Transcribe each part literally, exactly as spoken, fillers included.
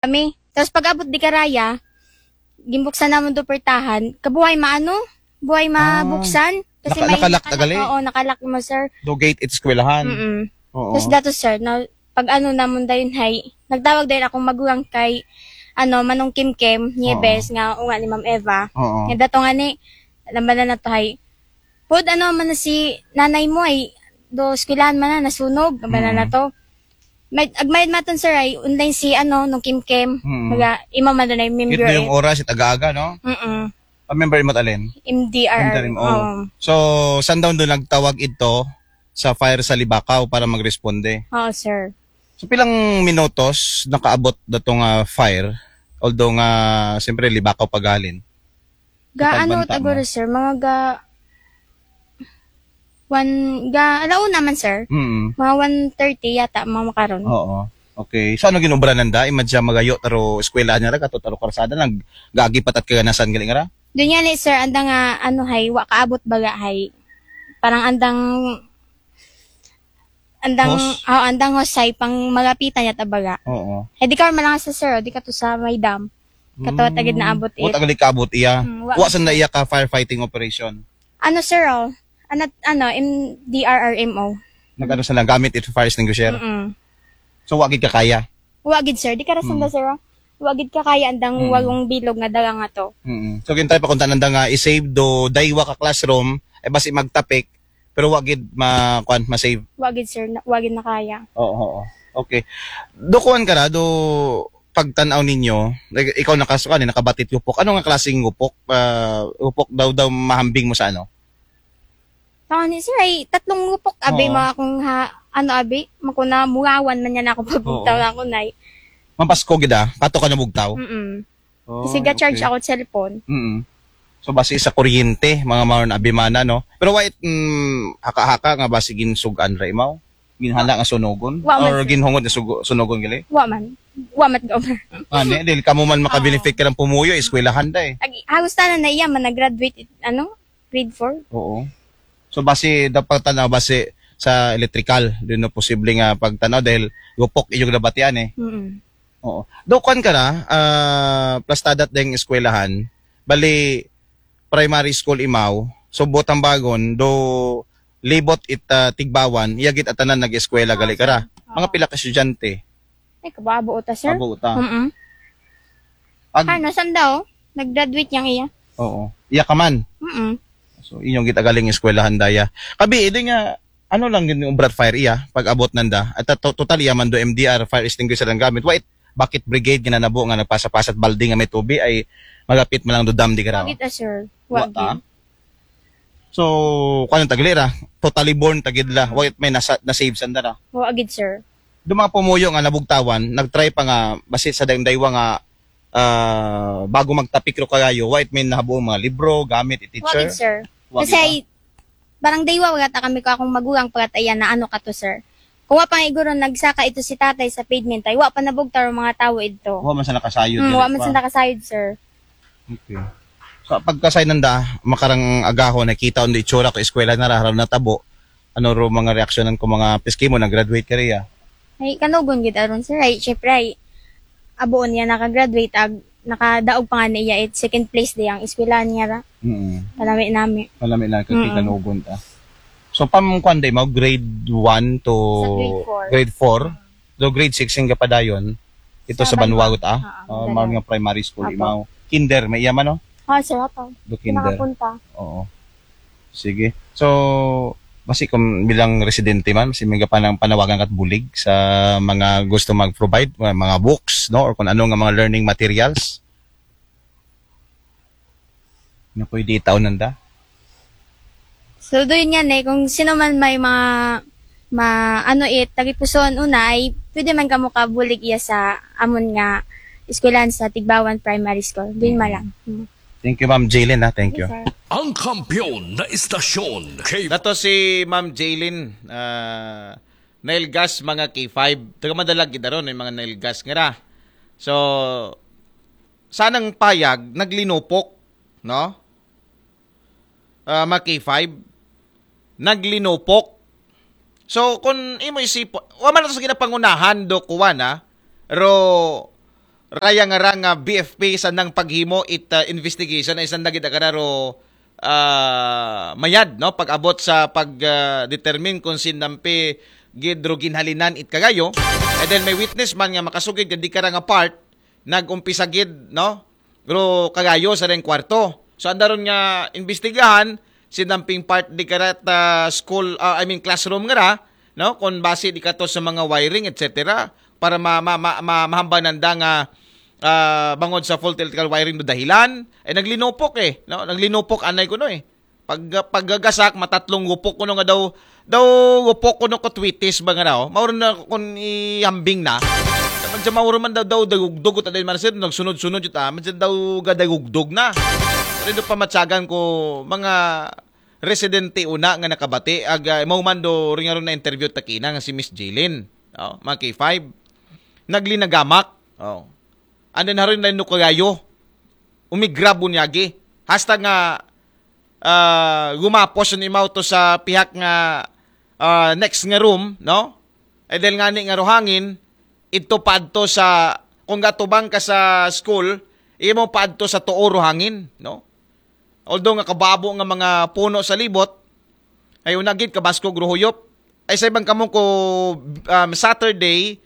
Kami. Tapos pag-abot di karaya, gimbuksan namon do portahan, kabuhay maano, buhay mabuksan. Kasi Naka- may nakalak nakalak, tagali? Oo, nakalak mo, sir. Do gate it eskwelahan. Mm. Oo. Tapos dato, sir, na, pag ano namon dayon hay, nagtawag dayon akong magulang kay, ano, Manong Kim Kim, Nieves, nga unga ni Ma'am Eva. Oo. Nga dato nga ni, alam ba na na to hay, pod, ano man na si nanay mo ay, do eskwelahan man na, nasunog, alam ba na na to. May, agmayad maton, sir, ay, online si, ano, nung Kim Kim. Mm. Maga, ima man doon ay member. Ito yung Eh. oras, itaga-aga, no? Mm-mm. Ang member mo, Alin? M D R. M D R M O. Oo. So, saan daw doon nagtawag ito sa fire sa Libacao para magresponde? Oo, sir. So, pilang minutos nakaabot datong ah, fire? Although nga, siyempre, Libacao pagalin. Ga, ano, Pagkabanta taguro, mo. Sir, mga ga, one, ga, alauna man, sir. Mm. Mga one thirty yata, mga makaron. Oo. Okay. So, ano ginubra nanda? Imadya magayo, taro eskwelahan niya, kato, taro karsada, nag-agi patat kaganasan galing ra? Doon yan eh, sir, andang nga, ano, hay, wa kaabot baga, hay. Parang andang, andang, Hose? Oh, andang hose hay, pang malapitan yata baga. Oo. Eh, di ka malanga sa, sir, oh, di ka to sa may dam. Kato, tagid na abot O, it. tagid kaabot iya. Mm, wa- Wa sanda iya ka firefighting operation. Ano, sir, oh? Ano, ano, M D R R M O. Nag-ano sa lang, gamit ito fire extinguisher. Mm. So, wa gid ka kaya. Wa gid, sir. Di ka rasanda, sir, oh. Wa gid ka kaya andang walong bilog nga dala nga to. Mm. So, gintay pa kung tananda nga i-save do daywa ka classroom, eh basi magtapik, pero wa gid ma, kuan, ma-save. Wa gid, sir. Na, wa gid na kaya. Oo, oo. Okay. Do kuan ka ra, do pagtanaw ninyo, like, ikaw nakasukan, eh, nakabatit upok. Ano nga klaseng upok? Ah, upok daw daw mahambing mo sa ano? Tama ni, sir, ay tatlong upok, abi, Oo. Mga akong ha, ano, abi, makuna murawan man yan ako pag Oo. Tawag ako, nay. Mapasko gid ah, kato ka nabugtaw. Mm. Oh, Kasi ga-charge okay. Ako cellphone. Mm. So basi sa kuryente, mga maron abimana, no? Pero wait, mm, haka-haka nga basi ginsugan ra imaw. Ginhala nga sunugon Wa man, or sir. Ginhungod nga sugo, sunugon gali. Wa man. Wa man go. Ani, dili kamo man makabenefit ka ng pumuyo, eskwelahan da eh. Ag-, halos tanan na iya man nag-graduate, ano? Grade four. Oo. So basi dapat tanaw basi sa electrical, di no posible nga pagtanaw dahil upok iyong nabatian eh. Mm. Oo. Do kuan ka ra, ah, plastadat deng eskwelahan, bali primary school imaw, so botang bagon, do libot it ah, Tigbawan, iya gid atanan nag-eskwela gali ka ra. Mga pila ka estudyante? Ay, kababo uta, sir. Abo uta. Mm. Ag- Ano, sanda, oh? Nag-graduate yang iya. Oo. Iya ka man. Mm. So inyong gitagaling eskwelahan daya. Kabi, di nga, ano lang gid yung obrat fire iya, pag abot nanda. At to- total iya man do M D R, fire extinguisher ang gamit. Wait, bakit brigade ginanabo nga nagpasapasat balde nga may tubi ay magapit man lang do dam di ka raw? Wa gid, ah, sir. Wa Wa ta? gid. So, kuan ang tagli ra, totally born tagid la. Wait, may nasa, na-save sanda ra. Wa gid, sir. Do mga pumuyo nga nabugtawan, nag-try pa nga, basi sa dayong daywa nga, ah, bago magtapik ro kagayo, wait, may nahabuong mga libro, gamit, i Wa teacher. gid, sir. Wa Kasi gid, ay, barang daywa, wala ta kami ko akong magulang pagkataya na ano ka to, sir. Kung wa pa nga iguro nagsaka ito si tatay sa pavement, ay wa pa nabugtaw ang mga tao ito. Wa man sa nakasayod. Hmm, dili wa man pa. Sa nakasayod, sir. Okay. So, pagkasay nanda, makarang agaho, nakita on do itsura ko eskwela na ra, haraw na tabo. Ano ro mga reaksyonan ko mga piski mo, nag-graduate ka riya? Ay, kanugon gid aron, sir. Ay, syempre, ay, aboon niya naka-graduate, ag, nakadaog pa nga niya, it second place di ang eskwelahan niya ra. Mm. Palami nami. Palami lang kay Mm. kanugon ta. So, pam, kuan day mo, grade one to Sa grade four. Grade four? Do grade six yung gapadayon? Ito sa, Sa Banwagot, Banwagot. ah? Ah, Oh, Banwagot. Mga primary school, Apo. imaw. Kinder, may iya man, no? Ah, sir, ato. Do kinder. Nakapunta. Oo. Sige. So, basi kung bilang residente man, si mga panang panawagan kat bulig sa mga gusto mag-provide, mga, mga books, no? Or kung ano nga mga learning materials na pwede itaon nanda. So, doon yan eh, kung sino man may mga, ma, ano it, tagipusoon una ay, pwede man kamo kabulig iya sa amon nga eskwelahan sa Tigbawan Primary School. Doon man lang. Hmm. Thank you, Ma'am Jaylin, ha. Thank you. Sir. Ang kampiyon na istasyon, K Nato si Ma'am Jaylin, ah, nailgas mga K five. Taga madalag gid aron yung mga nailgas nga ra. So, sanang payag, naglinupok, no? Ah, mga K five, naglinupok. So, kung imo isip, wa man sa ginapangunahan do kuwan, ha? Pero, raya nga ra nga B F P sa nang paghimo it ah, investigation ay sanda gid agara ro ah, mayad, no, pag-abot sa pag ah, determine kung sindampi gid ro ginhalinan it kagayo. And then may witness man nga makasugid nga di kara nga part nag-umpisa gid, no, ro kagayo sa reng kwarto. So anda ron nga imbestigahan sindamping part di kara ta school, ah, I mean classroom nga ra, no, kung base di kato sa mga wiring, et cetera, para ma, ma, ma, ma, mahambanan da nga ah, bangod sa fault electrical wiring do dahilan, eh naglinupok eh, no? Naglinupok anay kuno eh. Pag pagagasak matatlong gupok kuno nga daw daw gupok kuno ko twitis ba nga daw. Mauro na kun ihambing na. Medyo mauro man daw daw dagugdog ko taday man sir nagsunod-sunod jud ah. Medyo daw gadagugdog na. Pero do pamatsagan ko mga residente una nga nakabati ag uh, mao man do ringaron na interview takina nga si Miss Jilin. Oh, mga K five. Naglinagamak. Oh. And then haron na no kagayo. Umigrab unyagi. Hasta nga ah, gumapos ni Mao to sa pihak nga ah, next nga room, no? Eh dahil nga ni nga ruhangin, ito paadto sa kung gatubang ka sa school, imo paadto sa tuo ruhangin, no? Although nga kababo nga mga puno sa libot, ay unagid kabaskog ruhuyop. Ay sa ibang kamo ko um, Saturday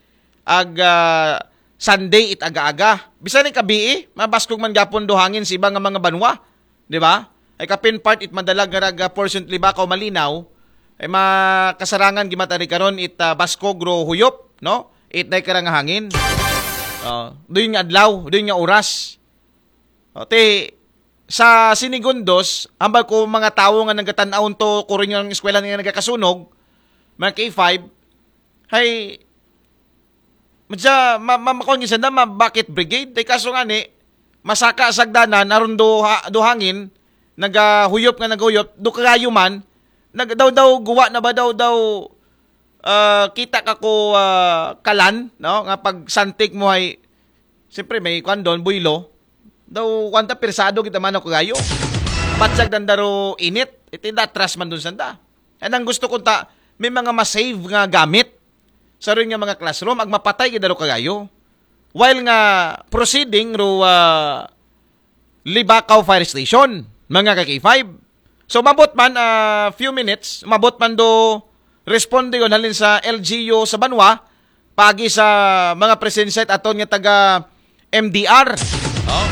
ag ah, Sunday it aga-aga. Bisan ni kabii, mabaskog man gapon do hangin sa iba nga mga banwa, di ba? Ay kapin part it madalag nga raga portion libakaw malinaw, ay makasarangan gimatari karon it ah, baskog ro huyop, no? It day karang hangin. Oh, doon nga adlaw, doon nga oras. O, ti, sa Sinigundos, hambal ko mga tawo nga nagatan-aw to kurin yung eskwela nga nagakasunog, mga K five, hay, madya, ma, ma, makuha nga sanda, ma, bakit brigade? Tay kaso nga ni, masaka sagdanan, aron do, ha, do hangin, nagahuyop nga nagahuyop, do kagayo man, nag, daw daw guwa na ba daw daw ah, kita ka ko ah, kalan, no? Nga pag santik mo ay, siyempre may kwan doon, buylo. Daw, kwanta persado kita man ako gayo. Batsag dandaro init, iti datras man doon sanda. And ang gusto ko ta, may mga masave nga gamit sa rin nga mga classroom, ag mapatay gid daro kagayo. While nga proceeding ro ah, Libakaw Fire Station, mga ka-K five. So, mabot man, ah, few minutes, mabot man do responde yon halin sa L G U sa banwa, pagi sa mga presensya at aton nga taga M D R. Oh.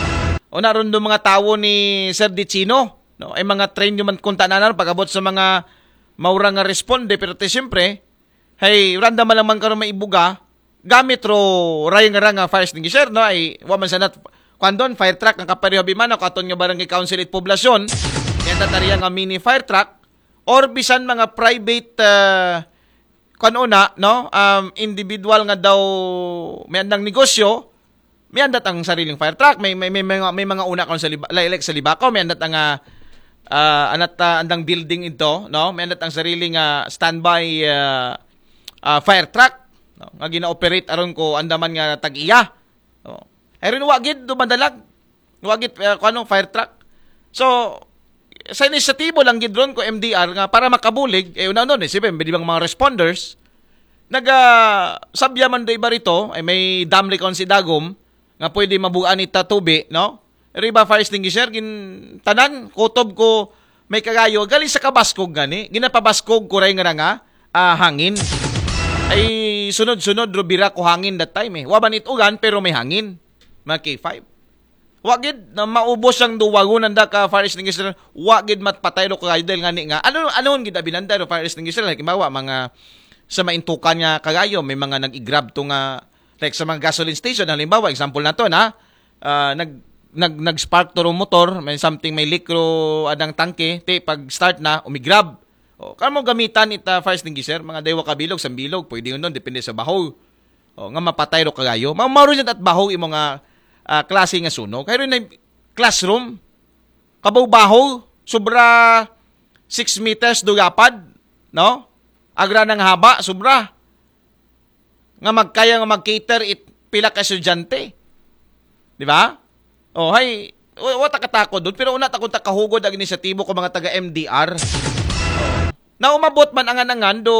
Una ron do mga tawo ni Sir Dicino, no? Ay mga train nyo man kung tanan pag-abot sa mga maura nga responde, pero te siyempre, hey, randa man lang man karon maibuga, gamit ro rayang nga fire extinguisher, no? Ay, wa man sanat, kwan doon, fire truck, ang kapareho bimana, kung aton nga barangay council it poblasyon, yan tatariya nga mini fire truck, or bisan mga private, uh, kwan una, no? Um, individual nga daw may andang negosyo, may andat ang sariling fire truck, may, may, may, mga, may mga una kung sa liba, like, like sa Libakaw, may andat ang, uh, uh, anat, uh, andang building ito, no? May andat ang sariling uh, standby uh, uh, fire truck, no? Nga gina-operate aron ko andaman nga tag-iya. No? Ay rin wagid, dumadalag. Wagid, uh, kung anong fire truck. So, sa inisyatibo lang gid ron ko M D R nga para makabulig, eh, una nun, eh, siyempre, di bang mga responders, naga, sabya man do iba rito, ay may dam recon si Dagom, nga pwede mabugaan ita tubi, no? Riba fire extinguisher, gin, tanan, kutob ko, may kagayo, galing sa kabaskog gani, ginapabaskog ko ray nga nga, ah, hangin. Ay, sunod-sunod, rubira ko hangin that time eh. Waban it ulan, pero may hangin. Mga K five. Wa gid na maubos ang duwagon nanda ka fire extinguisher, wa gid matpatay ro kagayo dahil nga ni nga ano ano gid abinanda ro fire extinguisher, like, halimbawa mga sa maintukan nga kagayo may mga nag-grab to nga, like, sa mga gasoline station, halimbawa example nato na ah, nag nag nag-spark to ro motor, may something, may leak ro adang tangke, te pag start na umigrab. O, kamo gamitan ita fire extinguisher, mga daywa ka bilog, sa bilog, pwede yun doon, depende sa baho. O, nga mapatay ro kagayo. Ma maro at baho imo nga ah, klase nga sunog. Kay rin na classroom, kabaw baho, sobra six meters do yapad, no? Agra ng haba, sobra. Nga magkaya nga mag-cater it pila ka estudyante. Di ba? O, hay, wa- wa ta katakod doon, pero una ta kung takahugod ang inisyatibo ko mga taga M D R. Na umabot man angan-angan do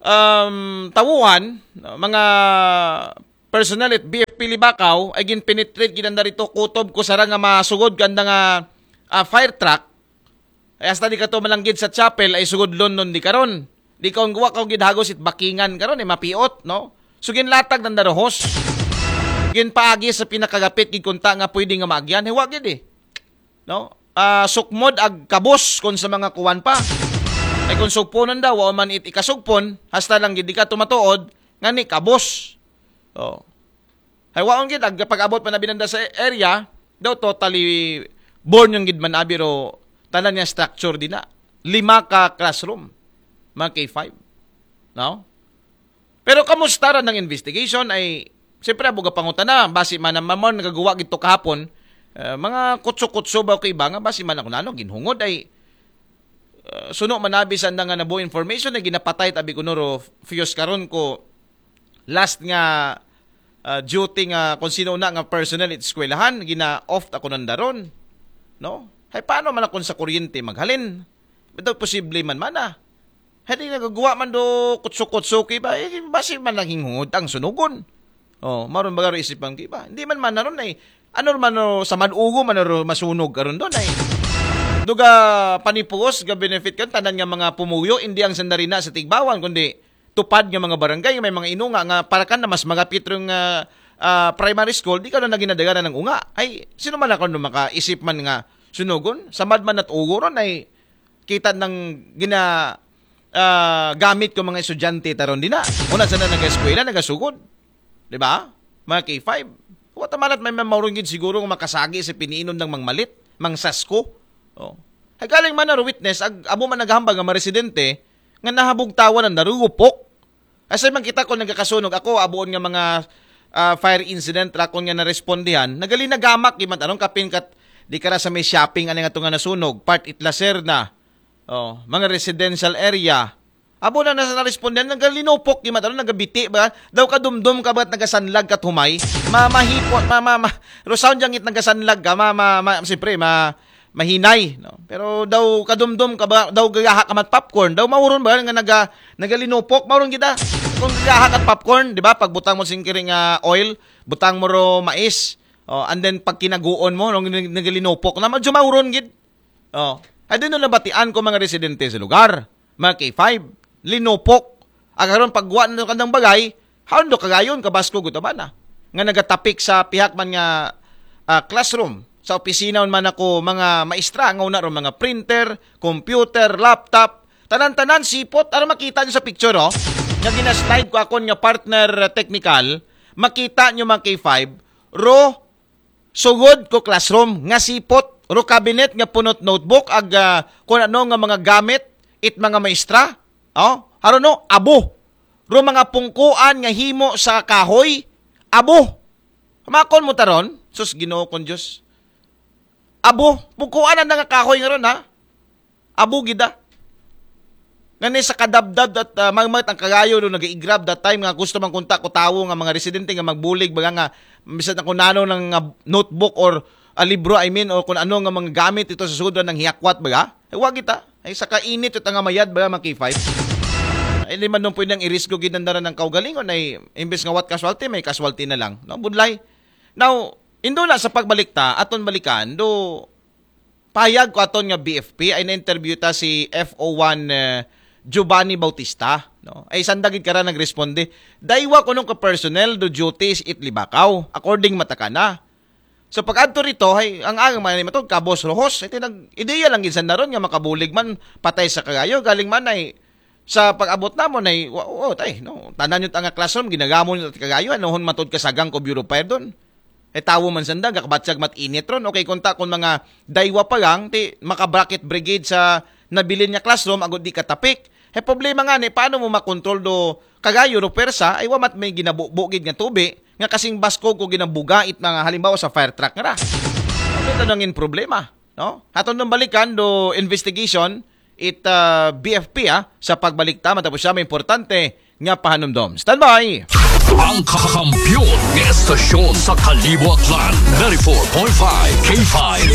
um, tawuhan, no, mga personnel it B F P Libacao, ay ginpenetrate gid anda dito, kutob ko sara nga masugod kanda nga ah, fire truck, ay hasta di kato malanggid sa chapel, ay sugod London di karon. Di ka, wa ka gid hagos it bakingan karon, eh, mapiot, no? So, ginlatag nanda ro hose. Ginpaagi sa pinakagapit gid kunta nga pwede nga maagyan. Hiwa gid, eh. No? Ah, sukmod ag kabos kung sa mga kuwan pa. Ay kung sugponon daw, wa man it ikasugpon, hasta lang gid di ka tumatuod, nga ni kabos. Oh. Hay waon gid, ag pag-abot pa na binanda sa area, daw totally born yung gid man abi ro tanan nga structure di na. Lima ka classroom, mga K five. No? Pero kamusta ra ng investigation ay, siyempre, abuga pangutana, basi man naman mo nagaguwa gito kahapon, eh, mga kutso-kutso ba ko iba nga, basi man ako nano, ginhungod ay, eh, suno manabi sa anda nga nabuo information ay ginapatay tabi ko nuro fuse karon ko last nga ah, duty nga kung sino na nga personnel it eskwelahan, gina-off ako ng daron. No? Hay paano man akong sa kuryente maghalin? Ito posible man mana. Hindi nagagawa man do kutso-kutso ki ba? Eh, basi man lang hinghod ang sunugon. Oh, maron ba garo isipan ki ba? Hindi man man naron ay ano man no, sa madugo man ro masunog karon doon ay duga panipuos ga benefit kan tanan nga mga pumuyo, hindi ang sandarina sa tigbawan kundi tupad nga mga barangay nga may mga inunga nga para kan na mas magapit rong ah, ah, primary school, di ka na ginadaganan ng unga. Ay, sino man ako no makaisip man nga sunugon? Samad man at ugo ron ay kita ng gina ah, gamit ko mga estudyante taron di na. Una sana nag-eskwela, nagasugod. Di ba? Mga K five. Wa ta malat may maurungid siguro nga makasagi sa piniinom ng mangmalit, mangsasko. Oh. Ay galing man na witness, ag, abo man naghambag nga mga residente, nga nahabugtawan ang narugupok. Asay man kita ko nagkakasunog, ako abuon nga mga ah, fire incident, rakon nga narespondihan, nagalinagamak, di man anong kapin kat, di ka ra sa may shopping, ano nga to nga nasunog, part it Lacerna, oh, mga residential area. Abo na nasa narespondihan, nagalinupok, di man anong nagabiti ba? Daw kadumdum ka ba't nagasanlag kat humay? Ma, mahipot, ma, ma, ma, ro sound yang it nagasanlag ka, ma, ma, ma, siyempre, ma, mahinay, no? Pero daw kadumdum ka ba, daw gagaha ka mat popcorn, daw mauron ba nga naga, nagalinupok, mauron kita. Kung gagaha ka popcorn, di ba? Pagbutang mo sing kiring ah, oil, butang mo ro mais, oh, and then pag kinaguon mo, nung nag- nagalinupok na, medyo mauron gid. Oh. Ay din nabatian ko mga residente sa lugar, mga K five, linupok. Agaron pagwa na kandang bagay, haon do kagayon kabasko gutabana nga nagatapik sa pihak man nga ah, classroom, sa opisina man ako mga maestra nga una ro mga printer, computer, laptop, tanan-tanan sipot. Aron makita niyo sa picture, oh, nga ginaslide ko akon nga partner ah, technical, makita niyo mga K five, ro sugod ko classroom nga sipot, ro cabinet nga punot notebook, ag ah, kung ano nga mga gamit it mga maestra. Oh, haro no, abo. Ro mga pungkuan nga himo sa kahoy, abo. Makon mo taron, sus Ginoo kong Diyos. Abo, pungkuan na nga kahoy nga ron ha. Abo gida. Nga ni sa kadabdab at uh, magmat ang kagayo do nagaigrab that time nga gusto man kunta ko tawo nga mga residente nga magbulig baga nga bisan ako nano ng uh, notebook or uh, libro, I mean, or kung ano nga mga gamit ito sa sudra ng hiyakwat baga. Ay, wag kita. Ay, sa kainit ito nga mayad baga mga K five. Ay, di man nung pwedeng irisgo ginandaran ng kaugalingon ay imbes nga what casualty, may casualty na lang. No? Budlay. Now, indo na sa pagbalikta, aton balikan, do payag ko aton nga B F P ay na-interview ta si F O one uh, Giovanni Bautista, no? Ay sandagid kara nagresponde. Daywa kuno ka personnel do duties it Libacao, according matakana. So pag adto rito, hay ang agang man matod ka boss Rohos, ito nag ideya lang gid sandaron nga makabulig man patay sa kagayo, galing man ay sa pag-abot namon ay wa- oh, tay, no, tanan yung nga classroom ginagamon yung kagayo, anohon matod ka sagang ko bureau fire doon. E tawo man sanda, gakabatsag mat init ron. Okay, kunta kung mga daywa pa lang, ti maka-bracket brigade sa nabilin nga classroom, agud di katapik. He problema nga ni, paano mo makontrol do kagayo do pwersa, ay wamat may ginabubugid nga tubi, nga kasing baskog ko ginabuga it mga halimbawa sa fire truck nga ra. Ano ito nangin problema? No? Hatong nang balikan do investigation, it uh, B F P ah, sa pagbalikta, matapos siya may importante nga pahanumdom. Standby! Ang kakampiyon ng estasyon sa Kalibo Aklan, ninety-four point five K five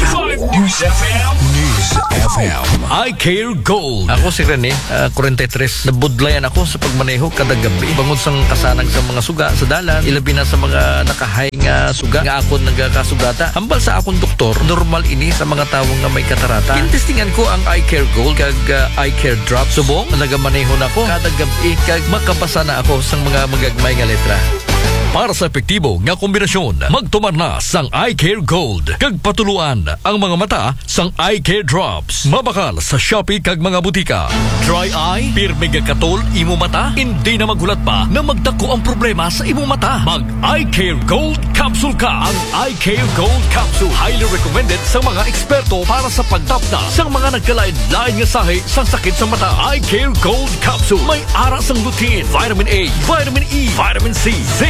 News F M. News F M. Eye Care Gold. Ako si Rene, ah, forty-three. Nabudlayan ako sa pagmaneho kada gabi. Bangod sang kasanag sa mga suga sa dalan, ilabi na sa mga nakahay nga suga nga akon nagakasugata. Hambal sa akon doktor, normal ini sa mga tawo nga may katarata. Gintestingan ko ang Eye Care Gold kag, ah, Eye Care Drop. Subong, nagamaneho na ko kada gabi kag makabasa na ako sang mga magagmay nga letra. Para sa epektibo nga kombinasyon, magtumar na sang Eye Care Gold kag patuluan ang mga mata sang Eye Care Drops. Mabakal sa Shopee kag mga butika. Dry eye, pirmi nga katol imo mata, hindi na maghulat pa na magdako ang problema sa imo mata. Mag Eye Care Gold Capsule ka. Ang Eye Care Gold Capsule highly recommended sa mga eksperto para sa pagtapna sa mga nagkalain-lain nga sahi sang sakit sa mata. Eye Care Gold Capsule may ara sang lutein, vitamin A, vitamin E, vitamin C, zinc,